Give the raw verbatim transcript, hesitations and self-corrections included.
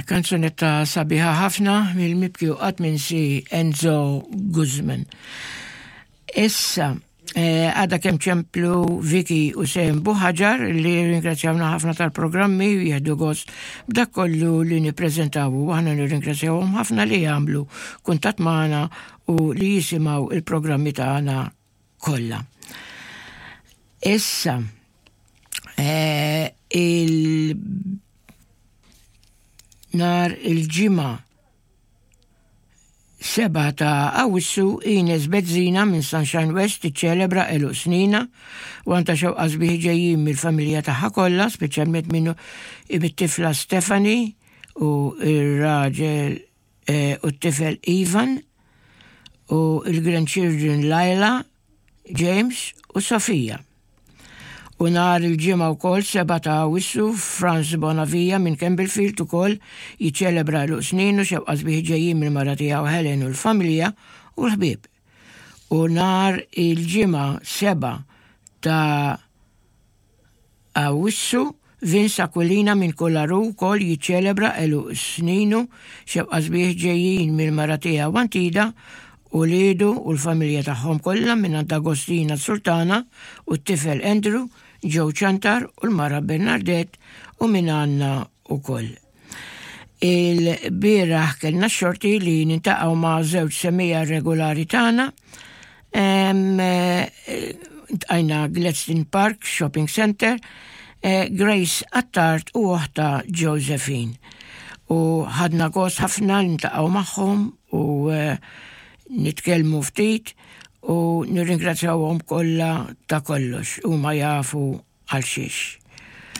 Kanzunetta sabiħa ħafna mill-mibki u qatt minsi Enzo Guzman. Issa, eh, għada kemm ċemplu Vicky u Sem Buħaġar li ringrazzjawna ħafna tal-programmi u jieħdu gost b'dak kollu li nippreżentaw u aħna nirringrazzjawhom ħafna li jagħmlu kuntatt magħna u li jisimgħu il-programmi tagħna kollha. Issa, eh, il nhar il-Ġimgħa seba' ta' Awwissu, Ines Bezzina minn Sunshine West tiċċelebra għeluq sninha u għandha xewqat sbieħ ġejjin mill-familja tagħha kollha, speċjalment minnu it-tifla Stephanie u ir-raġel eh, u t-tifel Ivan u il-grandchildren Laila, James u Sofia. U nhar il-Ġimgħa wkoll seba' ta' Awwissu, Franz Bonavia minn Campbellfield ukoll jiċċelebra għeluq sninu, xewqat sbieħ ġejjin mill-mara tiegħu Helen u l-familja u l-ħbieb. U nhar il-Ġimgħa seba' ta' Awwissu, Vince Aquilina minn Kolaru wkoll jiċċelebra għeluq sninu, xewqat sbieħ ġejjin mill-mara tiegħu Antida u wliedu u l-familja tagħhom kollha minn Agostina Sultana u t-tifel Andrew, Joe Ċantar u l-mara Bernadette u minn għandna ukoll. Il-bieraħ kellna xorti li niltaqgħu ma' żewġ semmiegħa regolari tagħna. Iltqajna Gladstone Park Shopping Center, eh, Grace Attard u oħtha Josephine. U ħadna gost ħafna niltaqgħu magħhom u eh, nitkellmu ftit u nirringrazzjawhom kollha ta' kollox u ma jafu għal xiex.